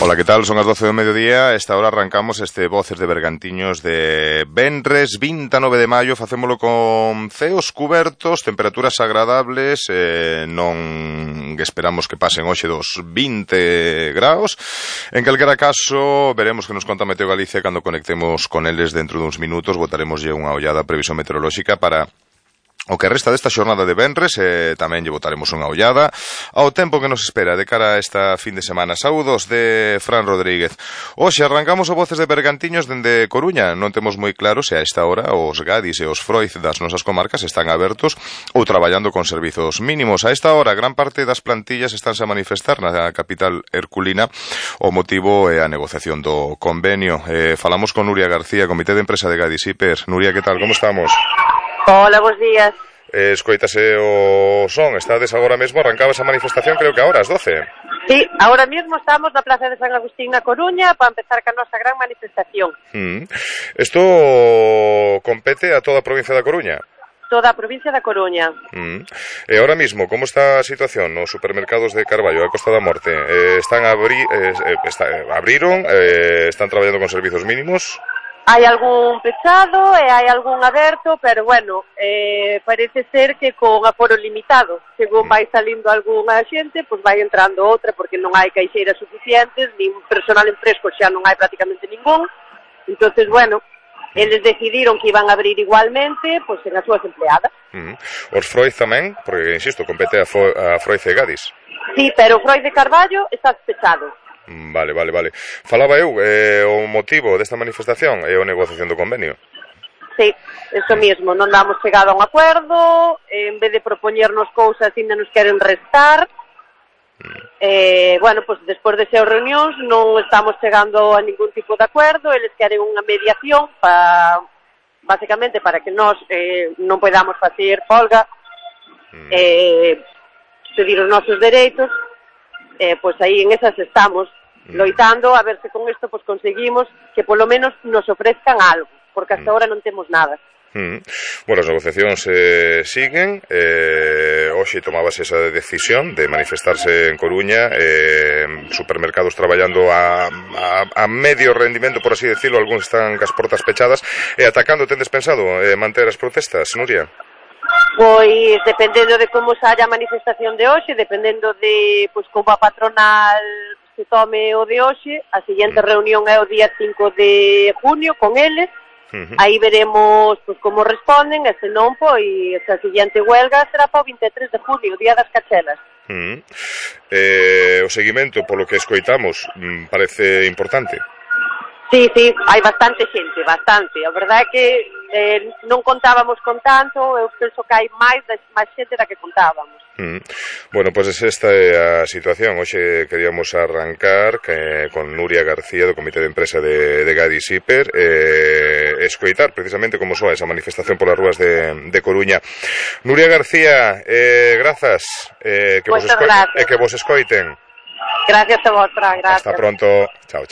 Ola, que tal? Son as 12 do mediodía. Esta hora arrancamos este Voces de Bergantiños de venres 29 de maio. Facémolo con ceos cubertos, temperaturas agradables, non esperamos que pasen hoxe dos 20 graus. En calquera caso, veremos que nos conta Meteo Galicia cando conectemos con eles dentro duns minutos. Botaremoslle unha ollada a previsión meteorolóxica para o que resta desta xornada de venres. Tamén lle botaremos unha ollada ao tempo que nos espera de cara a esta fin de semana. Saúdos de Fran Rodríguez. Hoxe arrancamos o Voces de Bergantiños dende Coruña. Non temos moi claro se a esta hora os Gadis e os Froiz das nosas comarcas están abertos ou traballando con servizos mínimos. A esta hora, gran parte das plantillas estánse a manifestar na capital herculina. O motivo é a negociación do convenio. Falamos con Nuria García, Comité de Empresa de Gadis Hiper. Nuria, que tal? Como estamos? Hola, bons días. Escoítase o son, estades agora mesmo, arrancaba esa manifestación creo que agora, ás 12. Sí, ahora mismo estamos na Plaza de San Agustín na Coruña para empezar ca nosa gran manifestación. Isto compete a toda a provincia da Coruña? Toda a provincia da Coruña. E ahora mismo, como está a situación nos supermercados de Carballo, a Costa da Morte? Abriron, están traballando con servizos mínimos? Hai algún pechado e hai algún aberto, pero bueno, parece ser que con aforo limitado. Según vai salindo algunha xente, pois vai entrando outra, porque non hai caixeiras suficientes, nin personal en fresco xa non hai prácticamente ningún. Entonces, bueno, eles decidiron que iban a abrir igualmente, pois en as súas empleadas. Os Froiz tamén, porque, insisto, compete a Froiz e Gadis. Sí, pero o Froiz de Carballo está pechado. Vale. Falaba eu, o motivo desta manifestación é a negociación do convenio. Sí, eso mismo, non damos chegado a un acuerdo, en vez de propoñernos cousas ainda nos queren restar. Bueno, pues despois de ser reunións non estamos chegando a ningún tipo de acuerdo, eles queren unha mediación básicamente para que nós non podamos facer folga, pedir os nosos dereitos. Pois aí en esas estamos loitando a ver se con isto pues conseguimos que polo menos nos ofrezcan algo, porque hasta ahora non temos nada. Bueno, as negociacións siguen. Hoxe tomábase esa decisión de manifestarse en Coruña, supermercados traballando a medio rendimento, por así decirlo, algúns están cas portas pechadas. Atacando, tendes pensado manter as protestas, Nuria? Pois dependendo de como saia a manifestación de hoxe, dependendo de pois como a patronal se tome o de hoxe, a seguinte reunión é o día 5 de junio con eles. Aí veremos pois como responden, e se non, pois a seguinte huelga será para o 23 de junio, o día das cachelas. O seguimento, polo que escoitamos, parece importante. Sí, hai bastante xente, bastante. A verdade é que non contábamos con tanto, eu penso que hai máis xente da que contábamos. Bueno, pois esta é a situación. Hoxe queríamos arrancar con Nuria García do Comité de Empresa de Gadis Hiper, escoitar precisamente como soa esa manifestación polas rúas de Coruña. Nuria García, grazas, que vos escoiten. Gracias a vosotras, gracias. Hasta pronto. Chao.